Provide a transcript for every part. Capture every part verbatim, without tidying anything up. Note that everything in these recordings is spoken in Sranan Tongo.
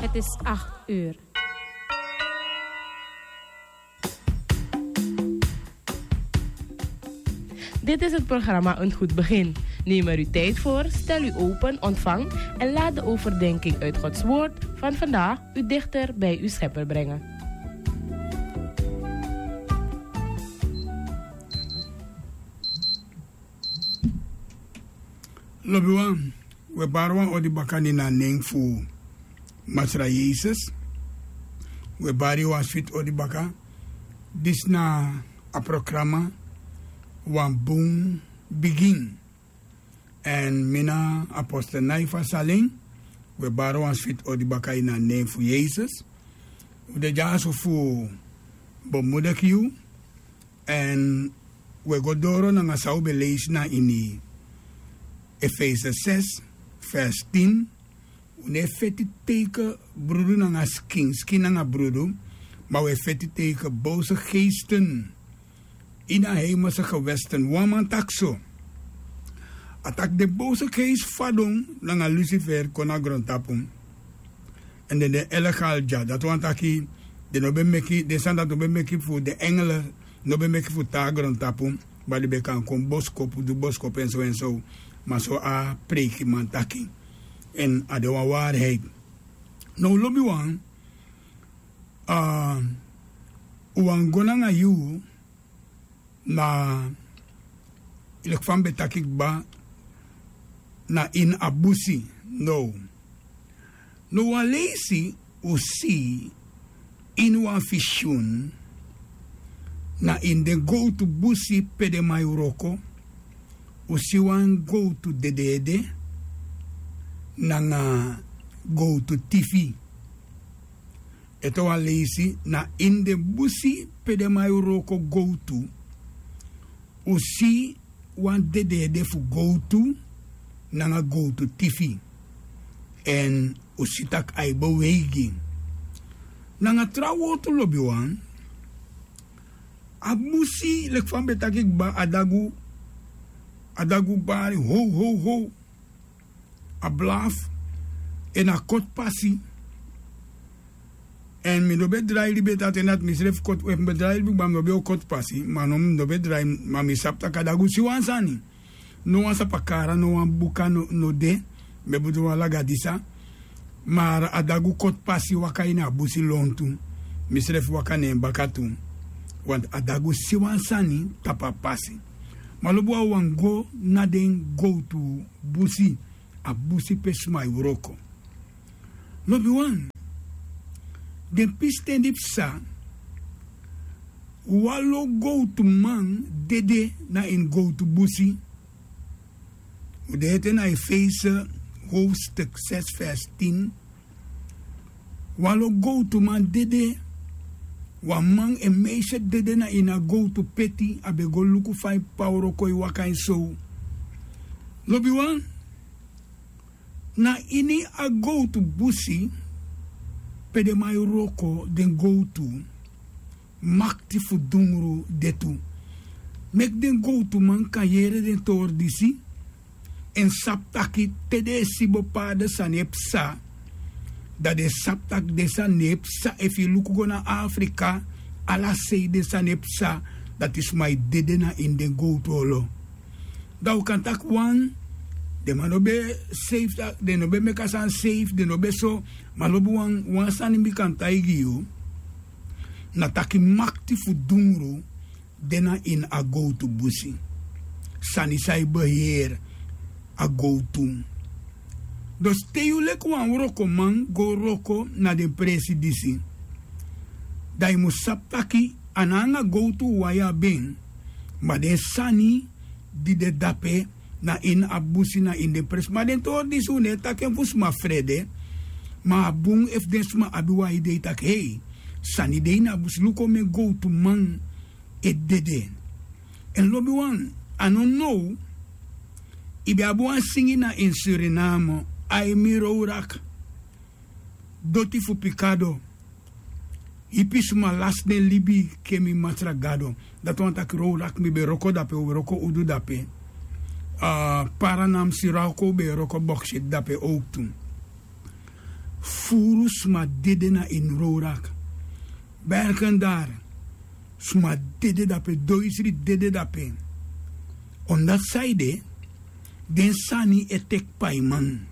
Het is acht uur. Dit is het programma Een Goed Begin. Neem er uw tijd voor, stel u open, ontvang en laat de overdenking uit Gods Woord van vandaag u dichter bij uw Schepper brengen. Lobiwan, we bari wan odi baka ini a nen fu Masra Yesus. We bari wan switi odi baka. Disi na a programa Wan Bun Bigin. Èn mi na apostel Naifa Salin. We bari wan switi odi baka ini a nen fu Yesus. Un de dyaso fu bemudiki yu. Èn we go doro nanga san un ben leisi na ini Efese ses, vers tin. Un no e feti tegen brudu nanga skin, skin nanga brudu, ma un e feti tegen boze geesten ini a hemelse gewesten. Wan man taki so. A taki den boze geest fadon nanga Lucifer kon na grontapu. Èn den de illegaal dya. Dati wani taki den no ben meki, den sani dati no ben meki fu den engele, no ben meki fu tan na grontapu, ma den ben kan kon boskopu, du boskopu èn so èn so. Ma so a preikiman taki. Èn a de wan waarheid. Now lobiwan, a, un wani go nanga yu na, leki fa mi ben taki kba, na ini a busi. Now, now wan leisi un si ini wan visioen, na ini den gowtu busi pe den man e wroko, un si wan gowtu dede ede nanga gowtu tifi. Ete wan leisi, na ini den busi pe den man e wroko gowtu, un si wan dede ede fu gowtu nanga gowtu tifi. Èn un si tak' a e beweigi. Nanga tra wortu lobiwan, a busi leki fa mi ben taki kba, a dagu, a dagu bari how how how. A blaf, èn a koti pasi. Èn mi no ben drai libi ete a ten dati, misrefi koti, efu mi ben drai libi kba mi no ben o koti pasi, ma now mi no ben drai. Ma mi sabi tak' a dagu si wan sani. No wan sapakara, no wan buka no, no de. Mi e bedoel wan lagadisa. Ma a dagu koti pasi waka ini a busi lontu. Misrefi waka na en baka tu. Want a dagu si wan sani tapu a pasi. Ma lobiwan, un wani go na den gowtu busi, a busi pe sma e wroko. Lobiwan, den pisten di psa, wan lo gowtuman dede na ini gowtu busi. Un de ete na Efese hoofdstuk zes vers tien. Wan lo gowtuman dede, wan man en meisje dede na ini a gowtu peti, a ben go luku fa en p'pa wroko e waka en sow. Lobiwan, na ini a gowtu busi pe den man e wroko den gowtu, makti fu dungru de tu. Meki den gowtuman kan yere den tori disi, èn sabi taki te den e si bepaalde sani e psa, dan den sabi taki den sani no e psa. Efu yu luku go na Afrika, ala sei den sani e psa, dati sma e dede na ini den gowtu olo. Dan un kan taki wan, den man no ben safe, den no ben meki a sani safe, den no ben so. Ma lobiwan, wan sani mi kan taigi yu, na taki makti fu dungru de na ini a gowtu busi. Sani san e beheer a gowtu. Dus te yu leki wan wrokoman go wroko na den presi disi, dan yu mus sabi taki a no anga gowtu wawan yu abi en, ma den sani di de dape na ini a busi, na ini den presi. Ma den tori disi un no e taki en fu sma frede. Ma a bun efu den sma abi wan idei taki, hei, sani de ini a busi, luku omeni gowtuman e dede. Èn lobiwan, a no now, yu ben abi wan singi na ini Suriname, ai mi rowrak, doti fu pikado, ipi sma lasi den libi, ke mi Masra Gado. Dati wani taki rowrak, mi ben wroko dape, un wroko udu dape. A, Paranam, Suralco, un ben wroko boksit dape owktu. Furu sma dede na ini rowrak. Bergendari, sma dede dape, doisri dede dape. On dati saide, den sani e teki paiman.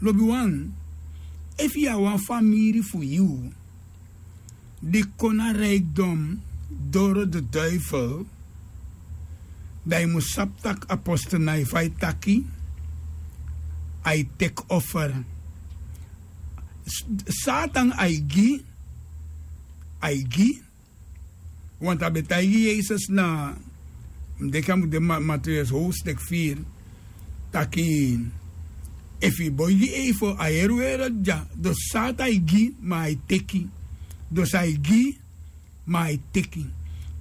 Lobiwan, efu yu na wan famiri fu yu di kon na rijkdom doro de duifel, dan yu mus sabi tak' apostel na yu fa yu taki, a e teki offer. Satan a e gi, a e gi. Want a ben taigi yesus na, mi denki a mus de matheus howstek firi, taki, efu yu boi gi eivo a heri weri dya. Dus satan a e gi ma a e teki. Dus a e gi ma a e teki.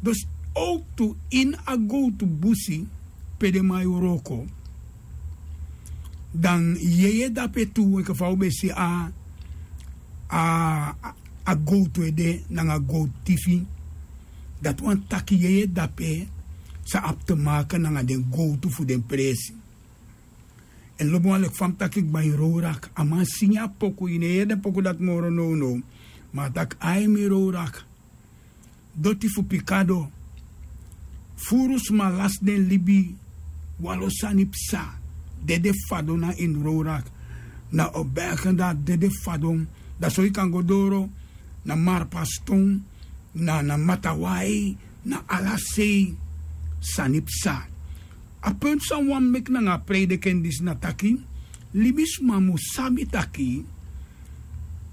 Dus owktu ini a gowtu busi pe den man e wroko, dan yeye dape tu enke fa un ben si a a gowtu ede nanga gowtu tifi. Dati wani taki yeye dape sa abi te make nanga den gowtu fu den presi. Èn lobi wan leki fa mi taki kba ini rowrak a man singi a poku yu no e yere den poku dati moro nownow. Ma a taki ai mi rowrak. Doti fu pikado. Furu sma lasi den libi. Wan lo sani psa. Dede fadon na ini rowrak. Na o bergen dati dede fadon. Da so yu kan go doro na marpaston, na na matawai, na ala sei. Sani psa. A puntu san wan meki nanga a preideken disi na taki, libisma mu sabi taki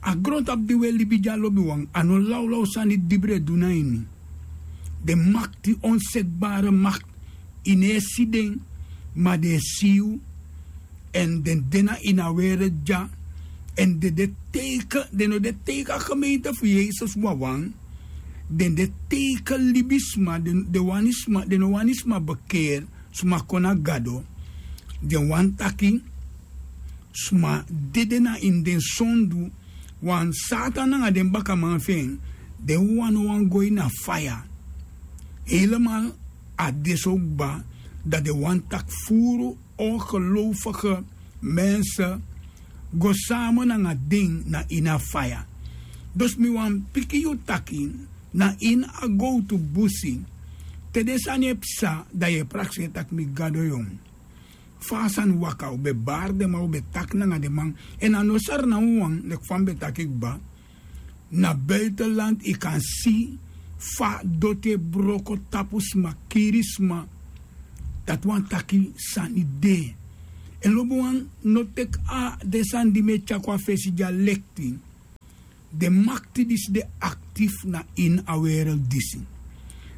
a grontapu di un e libi dya lobiwan a no lawlaw sani dibri e du na ini. Den makti onsekbare makti, yu no e si den, ma den e si yu. Èn den de na ini a were dya. Èn den de teike den no de teike a gemeente fu yesus wawan. Den de teike libisma den wani sma den no wani sma bekeri. Sma kon na gado. Den wani taki sma dede na ini den sondu. Wan satan nanga den bakaman fu en den wawan no wani go ini a faya. Helemal a de so kba. Dan den wani taki furu ongelowfige mense go sama nanga den na ini a faya. Dus mi wani piki yu taki na ini a gowtu busi te den sani e psa dan yu e prakseri tak' mi gado yu. Fa a sani waka un ben bari den man un ben taki nanga den man. Èn a no sari na wawan leki fa mi ben taki kba. Na buitenland yu kan si fa doti e broko tapu sma kiri sma. Dati wani taki sani de. Èn lobiwan no teki a den sani di mi e tyari kon a fesi dya lekti. Den makti disi de aktif na ini a werel disi.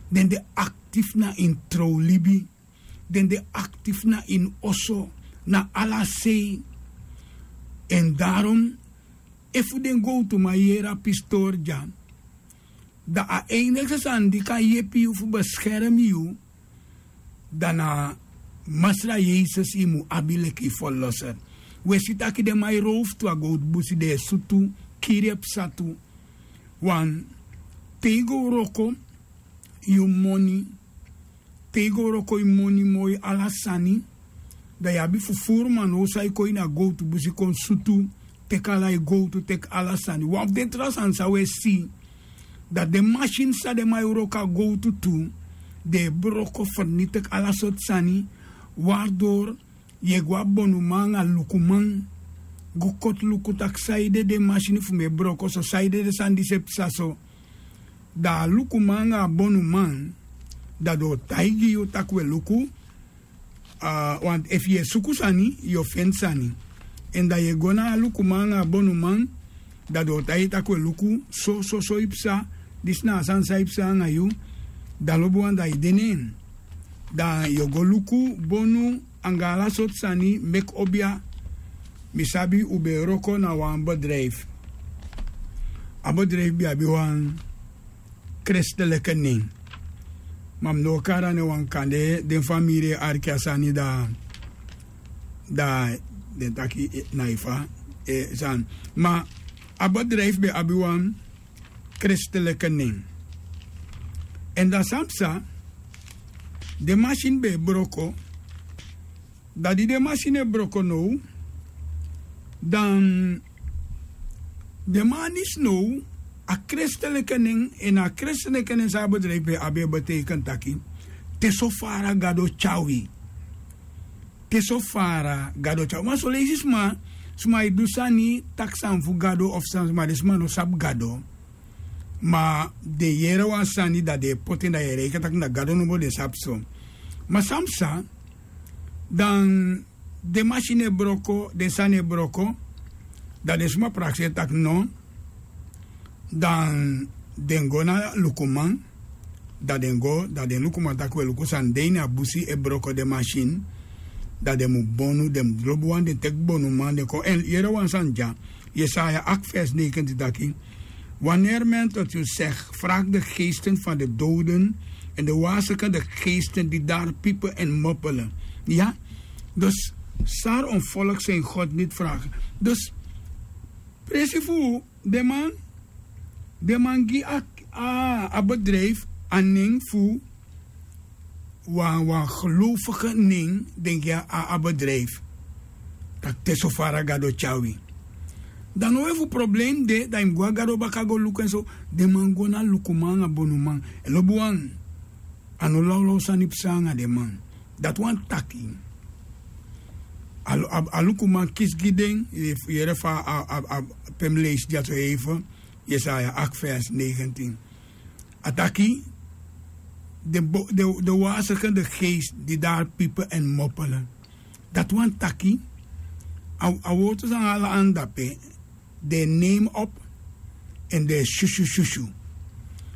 Den de aktif na ini trowlibi. Den de aktif na ini oso na ala sei. Èn darom efu den gowtuman yere a pistori dya dan a einigste sani di kan yepi yu fu beskermi yu dan na masra yesus yu mu abi leki yu ferloser. Un e si taki den man e rowfu tu a gowtu busi den e sutu kiri e psa tu. Wan te yu go wroko yu moni te yu go wroko yu moni moi ala sani. Dan yu abi fufuru man now san yu kon ini a gowtu busi kon sutu teki ala yu gowtu teki ala sani wan fu den tra sani san un e si. Dan den masin san den man e wroko a gowtu tu den e broko ferniteki ala sortu sani. Wari dori yu e go a bonuman anga lukuman go koti luku tak' saide den masin fu mi e broko so saide den sani disi e psa so. Dan a lukuman anga a bonuman dan den o taigi yu tak' un e luku. Want efu yu e suku sani yu o feni sani. Èn dan yu e go na a lukuman anga a bonuman dan den o taigi yu tak' un e luku so so so yu psa. Disi na a sani san yu psa anga yu. Dan lobi wan dan yu de na en dan yu o go luku bonu anga ala sortu sani meki obia. Mi sabi un ben e wroko na wan bedrijfu. A bedrijfu ben abi wan kristeleke nen. Ma mi no o kari a nen wan kande den famiri e arki a sani dan dan den taki na yu fa. Sani ma a bedrijfu ben abi wan kristeleke nen. Èn dan san psa den masini ben e broko. Dan di den masini e broko now dan Den man disi now, a kristeliki nen, èn a kristeliki nen san a bedrijfi ben abi e beteikeni taki, te so fara gado tyari wi. Te so fara gado tyari wi. Ma son leisi sma, sma e du sani taki san fu gado of san sma, den sma no sabi gado. Ma den yere wan sani, dan den e poti en, dan yu e reiki taki na gado nomo den sabi so. Ma san psa, dan den masini e broko, den sani e broko, dan den sma prakseri taki no. Dan den go na lukuman, dan den go, dan den lukuman taki: "We, luku san de ini a busi e broko den masini." Dan den mu bonu, den mu lobi wan, den teki bonuman, den kon. Èn yere wan sani dya, Yesaya acht vers negentien taki: "Wanneer men tot u zegt: vraag de geesten van de doden en de wazigende geesten die daar piepen en moppelen." Ya, dus sar on volk zijn God niet vragen. Dus presi fu den man, den man gi a, a, a bedrijfi a nen fu wan, wan gelovige nen, den gi a, a bedrijfi. Taki te so fara gado tyari wi. Dan no we fu problem de, dan yu mu go a gado baka go luku en so. Den man go na lukuman anga bonuman. Èn lobi wan, a no lawlaw sani psa anga den man. Dati wani taki, a, a, a lukuman kisi gi den, yu e, fu yere fa a, a, a, pe mi leisi dya so even, Yesaya acht vers negentien. A taki, de, bo- de, de wazigende geest die daar piepen en moppelen. Dati wani taki, a, a wortu san ala anda pe, den e nemi op, èn den e susu susu.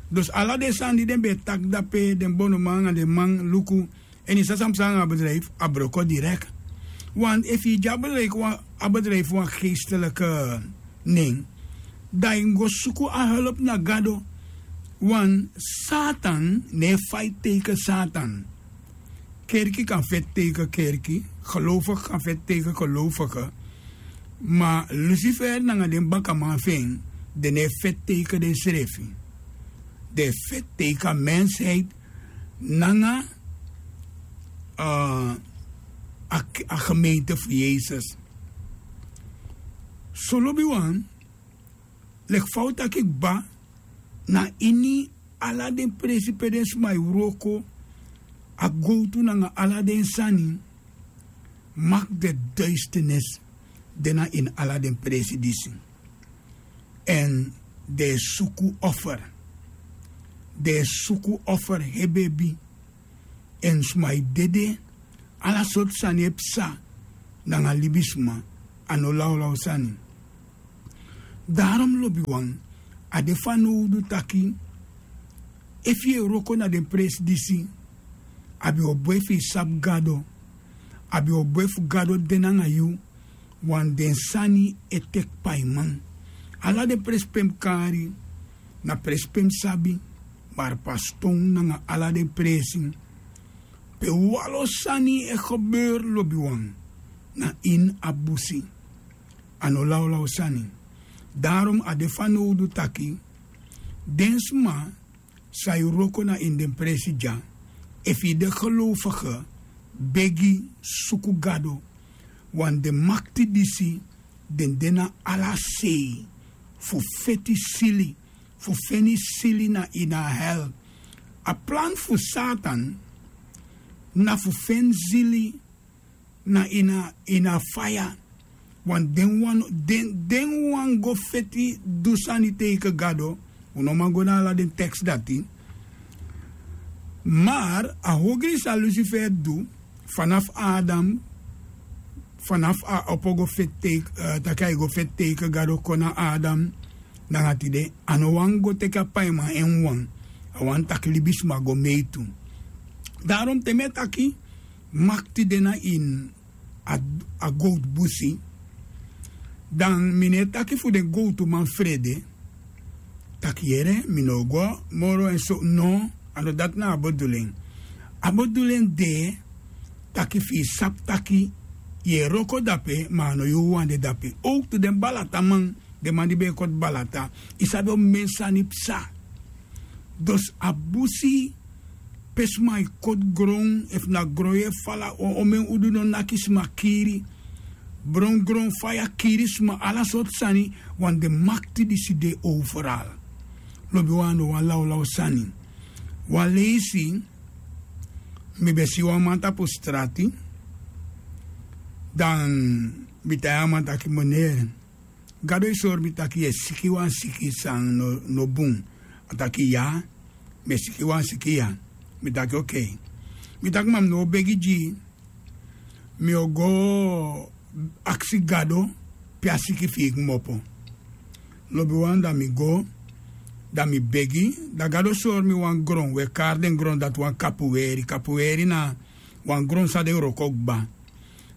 Dus ala den sani di den ben e taki dape, den bonuman anga den man luku, èn yu sa san psa anga a bedrijfi, a broko direkt. Want efu yu gi a bedrijfi wan, a bedrijfi wan geestelijke nen, dan yu go suku a help na gado. Want Satan no e feti tegen Satan. Kerki kan feti tegen kerki, gelovige kan feti tegen gelovige. Ma Lucifer nanga den bakaman fu en, den no e feti tegen densrefi. Den e feti tegen a mensheid nanga, eh, a, a gemeente fu Yesus. So lobiwan, leki fa un taki kba, na ini ala den presi pe den sma e wroko, a gowtu nanga ala den sani, makti de duisternis de na ini ala den presi disi. Èn den e suku offer. Den e suku offer hebi hebi. Èn sma e dede, ala sortu sani e psa nanga libisma, a no lawlaw sani. Daarom lobiwan, a de fanowdu taki, efu yu e wroko na den presi disi, a ben o bun efu yu sabi Gado, a ben o bun efu Gado de nanga yu, want den sani e teki paiman. Ala den presi pe mi kari, na presi pe mi sabi, mari paston nanga ala den presi pe wanlo sani e gebeur lobiwan, na ini a busi. A no lawlaw sani. Daarom a de fanowdu taki, den sma san e wroko na ini den presi dya, efu yu de gelovige, begi, suku Gado, want den makti disi, den de na ala sei fu feti sili, fu feni sili na ini a hel. A plan fu Satan na fu feni sili na ini a, ini a faya. Want den wan, den, den wan go feti du sani tegen Gado, un no man go na ala den tekst dati. Mari a ogri san Lucifer du, vanaf Adam, vanaf a opo go feti tegen, eh, taki a e go feti tegen Gado kon na Adam, nanga tide, a no wani go teki a paiman en wan, a wani taki libisma go mei tu. Daarom te mi e taki, makti de na ini a, a gowtu busi, dan mi no e taki fu den gowtuman frede, taki yere, mi no o go moro en so, no, a no dati na a bedoeling. A bedoeling de, taki fu yu sabi taki, yu e wroko dape, ma a no yu wawan de dape. Ook tu den balataman, den man di ben e koti balata, yu sabi omeni sani psa. Dus a busi pe sma e koti gron, efu na gron yu e fala, o, omeni udu no naki sma kiri. bron gron faya kiri sma ala sortu sani. Wan den makti disi de overal. Lobi wan no wan lawlaw sani. Wan leisi mi ben si wan man tapu strati. Dan mi tai a man taki meneer, gado e sori mi taki yu e siki wan siki san no bun. A taki ya, mi e siki wan siki ya. Mi taki okei. Mi taki ma mi no o begi gi yu. Mi o go aksi gado pe a siki fi yu kmopo. Lobi wan dan mi go, dan mi begi. Dan gado sori mi wan gron we kari den gron dati wan kapuweri kapuweri na wan gron san den wroko kba.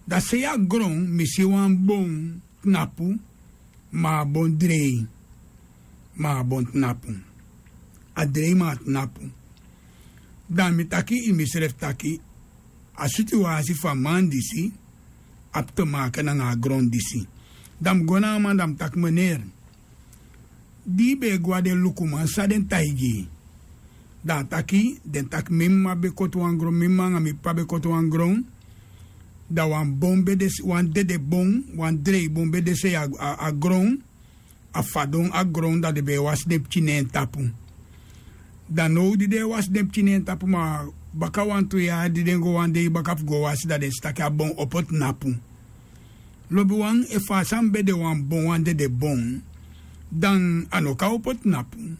Dan sei a gron mi si wan bon tnapu. Ma a bon drei. Ma a bon tnapu. A drei ma a tnapu. Dan mi taki ini misrefi taki a situwasi fu a man disi abi te make nanga a gron disi. Dan mi go na a man dan mi taki meneer, di yu ben e go na den lukuman san den taigi yu? Dan a taki den taki mi mama ben koti wan gron mi mama nanga mi p'pa ben koti wan gron. Dan wan bon ben de wan dede bon wan drei bon ben de sei a gron. A fadon a gron dan den ben e wasi den pikin na en tapu. Dan now di den e wasi den pikin na en tapu ma baka wantu yari di den go wan dei baka fu go wasi dan den si taki a bon opo tnapu. Lobi wan efu a sani ben de wan bon wan dede bon, dan a no kan opo tnapu.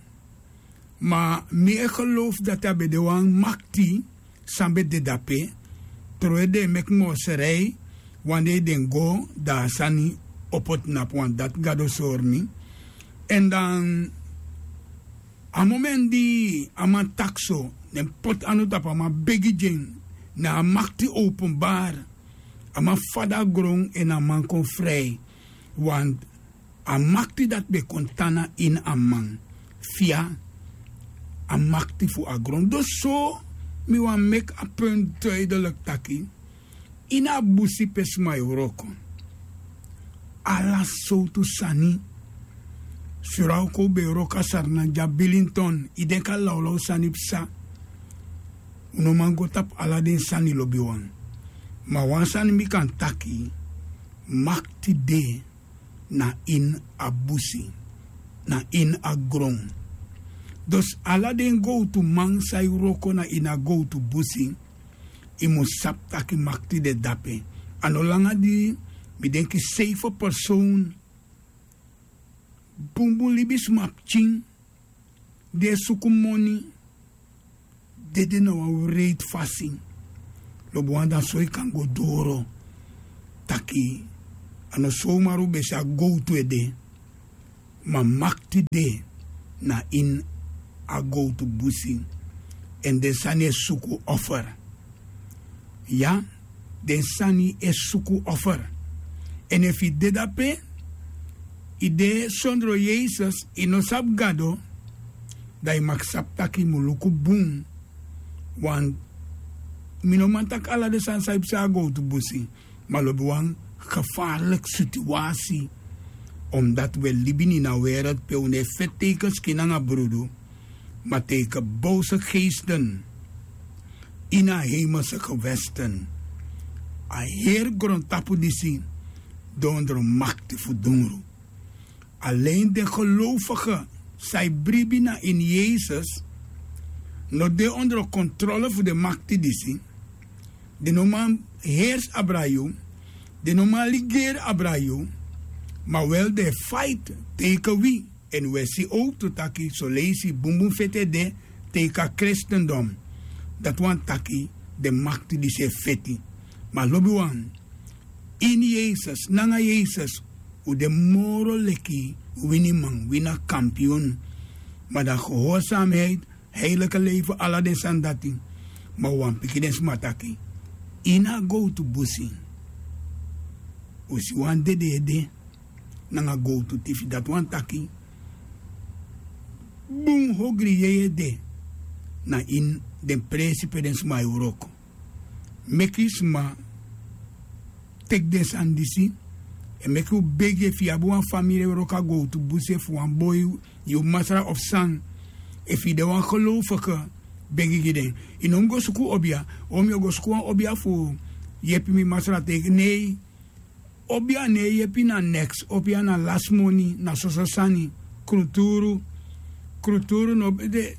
Ma mi e gelowfu dati a ben de wan makti san ben de dape. Trowe den e meki moserei wan dei den go dan a sani opo tnapu wan dati gado sori mi. Èn dan a momenti di a man taki so, ne mi poti anu tapu a man begi gi en. Ne a makti openbari. A man fadon a gron èn a man kon frei. Want a makti dati ben kon tan na ini a man. Fi a a makti fu a gron dus so mi wani meki a puntu duidelik taki ini a busi pe sma e wroko ala sowtu sani. Suralko un ben e wroko a sarnan gi a bilinton. Yu denki a lawlaw sani psa. Un no man go tapu ala den sani lobiwan. Ma wan sani mi kan taki makti de na ini a busi, na ini a gron. Dus ala den gowtuman san e wroko na ini a gowtu busi yu mus sabi tak' makti de dape. A no langa di mi denki seife person bunbun libisma pikin di e suku moni dede na wan wreiti fasi. Lobi wan dan so yu kan go doro taki a no somar un ben si a gowtu ede. Ma makti de na ini a gowtu busi. Èn den sani e suku offer. Ya, den sani e suku offer. Èn efu yu de dape yu de sondro yesus yu no sabi gado, dan yu maki sabi tak' yu mus luku bun. Wan mi no man taki ala den sani san yu psa a gowtu busi. Ma lobi wan gefarliki situasi. Omdati wi e libi na ini a wereldi pe un no e feti teikenskin nanga brudu, ma teike bowse geesten ini a hemelse gewesten. A heri grontapu disi de ondro makti fu dungru. Alen den gelowfige san e bribi na ini yesus no de ondro kontrole fu den makti disi. Den no man hersi abra yu. Den no man ligeri abra yu. Ma wel den e faiti teike wi. Èn wi e si owktu taki soleisi bunbun feti e de teike a kristendom. Dati wani taki den makti disi e feti. Ma lobiwan, ini yesus nanga yesus un de moro leki winiman wini a kampiun. Ma dan gehorsamheid heiliki leifi ala den sani dati. Ma un wani piki den sma taki ini a gowtu busi un si wan dede ede nanga gowtu tifi dati wani taki bun hogri yeye de. Na ini den presi pe den sma e wroko meki sma teki den sani disi. Èn meki un begi efu yu abi wan famiri e wroko a gowtu busi efu wan boi yu masra of san, efu yu de wan gelowfige begi gi den. Yu no mus go suku obia. O mi o go suku wan obia fu yepi mi masra teki nei. Obia no e yepi na neks, obia na lasi moni, na soso sani. Kruturu, kruturu no de.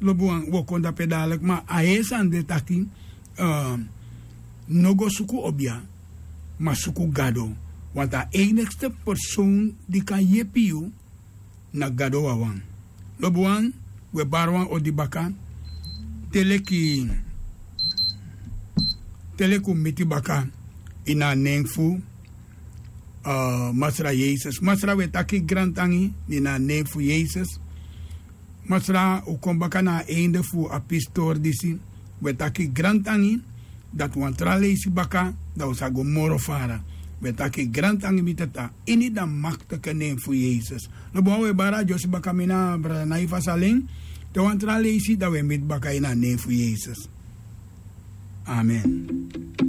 Lobi wan, wi o kon dape dadiliki, ma a heri sani de taki, no go suku obia, ma suku Gado. Want a enigste persoon di kan yepi yu na Gado wawan. Lobi wan, wi e bari wan odi baka, te leki, te leki un miti baka ini a nen fu masra Yesus. Masra, wi e taki grantangi ini a nen fu Yesus. Masra, un kon baka na a einde fu a pisitori disi. Wi e taki grantangi, dati wan tra leisi baka, dan un sa go moro fara. Wi e taki grantangi, mi Tata, ini da maktiki nen fu Yesus. Lobi wan, wi e bari a dyosi baka, mi na brada Naifas alen. Te wan tra leisi, dan wi e miti baka ini a nen fu Yesus. Amen.